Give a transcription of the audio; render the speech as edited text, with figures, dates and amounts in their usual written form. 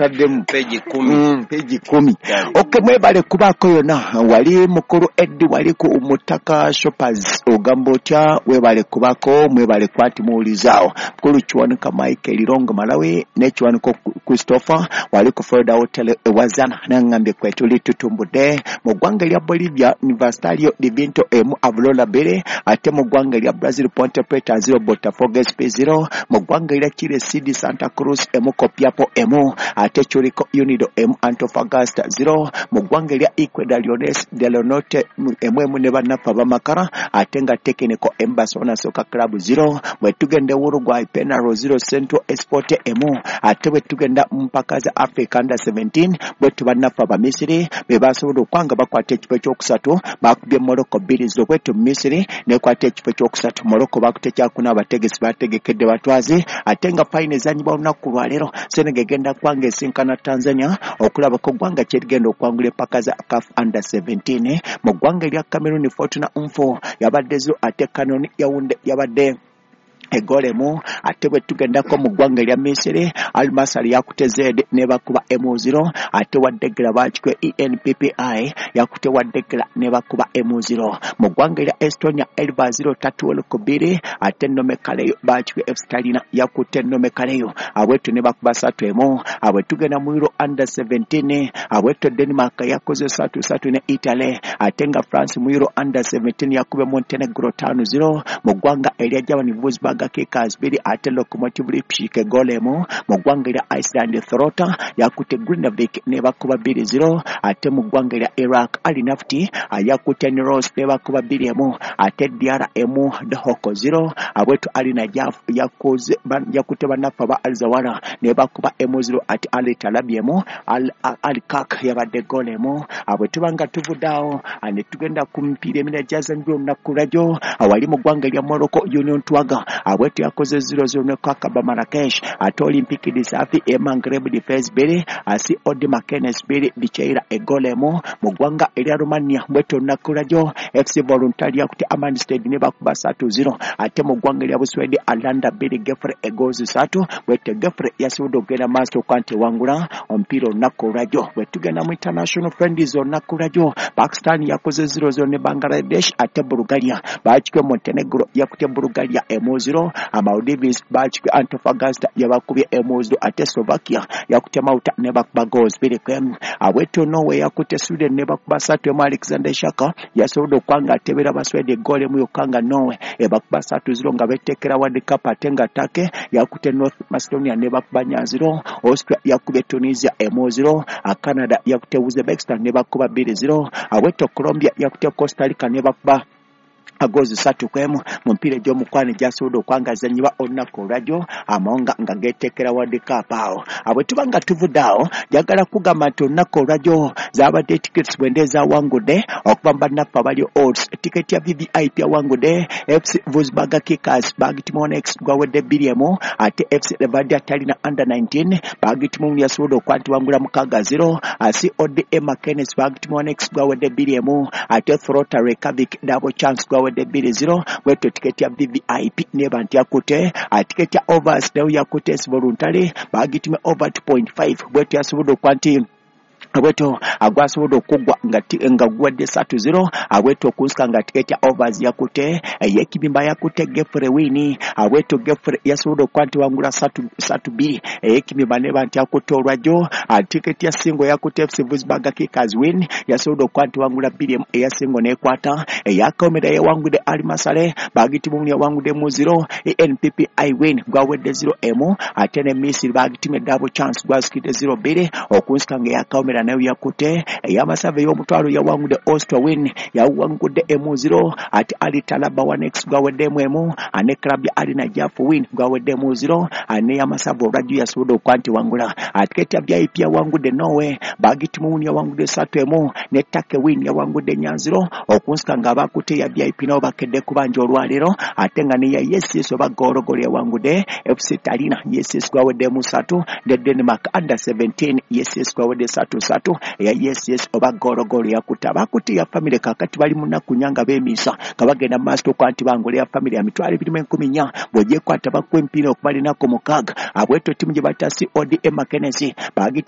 Ntaddemu Peji 10. Peji 10. Okay, mwebale kubaako yonna wali mukulu Eddi wali ku Mutaka Shoppers ogamba otya, webale kubaako, mwebale kwati muwulizaawo. Mukulu Kiwanuka Michael Rongo Malawi ne Kiwanuka Christopher wali ku Florida Hotel ewazana nangambye kwetuli tutumbudde. Mu ggwanga lya Bolivia Universitario de Vinto emu Aurora 2, ate mu ggwanga lya Brazil Ponte Preta 0 Botafogo SP 0, mu ggwanga lya Chile CD Santa Cruz emu Copiapo emu, ate Curicó Unido emu Antofagasta 0, mu ggwanga lya Ecuador Leones del Norte emu emu ne bannaffe abamakara, ate nga Technical emu Barcelona Soccer Club 0. Bwe tugenda Uruguay Penarol 0 Central Esport emu, ate bwe tugenda mu mpaka za Africa Under 17 bwe tuba bannaffe Abamisiri be basobola okwanga bakwata ekifo ekyokusatu, bakubye Morocco 2-0. Bwetu Misiri nekwata ekifo ekyokusatu, Morocco bakute kyakuna, abategesi bategekedde batwazi, ate nga final ezanyibwa olunaku lwaleero Senegal egenda kwanga esinkana Tanzania okulabako ggwanga kyerigenda okwangula empaka za CAF Under 17. Mu ggwanga erya Cameroon Fortuna Nfo yabadde 0, ate Canon Yaounde yabadde egolemu. Ate bwe tugendako mu ggwanga erya Misiri Al Masry yakute Z nebakuba emu 0, ate Waddegera bakikwe ENPPI yakute Waddegera nebakuba emu 0. Mu ggwanga erya Estonia Elva 0 Tatuol 2, ate Nome Kaleyo bakikwe FC Talina yakute Nome Kaleyo abwetu nebakuba 3-1. Abwe tugenda mu Euro Under 17 abwetu Denmark yakoze 3-3 ne Italy, ate nga France mu Euro Under 17 yakube Montenegro 5-0. Mu ggwanga erya Germany Wolfsburg Kickers 2, ate Lokomotiv Leipzig golemu. Mu ggwanga erya Iceland Throta yakute Grindavik nebakuba 2-0, ate mu ggwanga erya Iraq Al Nafti yakute Niros nebakuba 2-1, ate DR emu Dohoko 0. Abwetu Al Najaf yakute bannaffe aba Al Zawara nebakuba emu 0, ate Al Talabi emu Al Kak yabadde golemu. Abwe tubanga tuvuddeawo ne tugenda ku mipiira emirala gyazanyibwa olunaku lwajjo awali mu ggwanga erya Morocco Union Twaga abwetu yakoze 0-0 ne Kakaba Marrakesh, ate Olympique de Safi Emangreb Defense 2, asi Odi Makenes 2 Bicheira egolemu. Mu ggwanga erya Romania bwetu olunaku lwajjo FC Voluntari yakute Amanstead ne bakuba 3-0, ate mu ggwanga erya Buswedi Alanda 2 Gefre egozi 3. Bwete Gefre yasobodde okugenda maaso okuba nti ewangula omupiira olunaku olwajjo. Bwe tugenda mu international friendlies olunaku lwajjo Pakistan yakoze 0-0 ne Bangladesh, ate Bulgaria bakikwe Montenegro yakute Bulgaria 1-0, Maldives bakikwe Antofagasta yabakubye 1-0, ate Slovakia yakute Malta ne bakuba goals 2-1. Abwetu Norway yakute Sweden ne bakuba 3-1. Alexander Shaka yasobodde okwanga atebera Abaswede goal emu yokka nga Norway ebakuba 3-0 nga betekera World Cup, ate nga Turkey yakute North Macedonia ne bakuba 4-0, Austria yakubye Tunisia 1-0, Canada yakute Uzbekistan ne bakuba 2-0, abwetu Colombia yakute Costa Rica ne bakuba agozi 3-1. Mu mpiira egy'omukwano gyasobodde okwangazanyibwa olunaku olwajjo amawanga nga geetekera World Cup awo. Abwe tuba nga tuvudde awo njagala kugamba nti olunaku olwajjo zaabadde tickets bwende ezawangudde okuva mu bannaffe abali odds. Tiketi ya VVIP yawangudde FC Wolfsburg Kickers bagitimu gwawedde 2-1, ate FC Levadia Talina Under 19 bagitimu yasobodde okuba nti wangula 6-0, CODA Makenes bagitimu gwawedde 2-1, ate Throta Reykjavik double chance gwawedde 2-0. Bwetyo tiketi ya VVIP neba nti yakute tiketi ya overs nayo yakute voluntary bagitime over 2.5. Bwetyo yasobodde okuba nti abweto agwasobodde okuggwa nga guwadde 3-0. Abweto okunsika nga tiketi ya overs yakute eyekibimba yakute Gefre wini. Abweto Gefre yasobodde okuba nti wangula 3-2 eyekibimba neba nti yakute olwajjo. Tiketi ya singo yakute FC Wolfsburg Kickers win yasobodde okuba nti wangula 2 eya singo nekwata. Eyakawomera yawangudde Al Masale bagitimu yawangudde mu 0, NPPI win gwawedde 0-1, ate ne Misiri bagitime double chance gwasikidde 0-2. Okunsika nga eyakawomera nayo yakute ey'amasavu ey'omutwalo yawangudde Austria win yawangudde 1-0, ate Ali Talaba 1x gwawedde 1, ane club ya Ali Najaf win gwawedde 0, ane y'amasavu olwajjo yasobodde okuba nti wangula. Tiketi ya VIP yawangudde Norway bagitimu yawangudde 3-1, ne Turkey win yawangudde 4-0. Okunsika nga abakute ya VIP nabo bakedde kubanja olwaleero, ate nga neya YSS oba gologolo yawangudde FC Talina YSS gwawedde 3, ne Denmark Under 17 YSS gwawedde 3-3 eya YSS oba gologolo yakutte. Abakutte ya family kakati bali mu nnaku nnya nga beemiisa nga bagenda mu maaso okuba nti bangula ya family ya 2,400 bw'ogyekwata bakuwa emipiira okumala ennaku 6. Abweto ttiimu gye bayita CODA Makenesi bagiti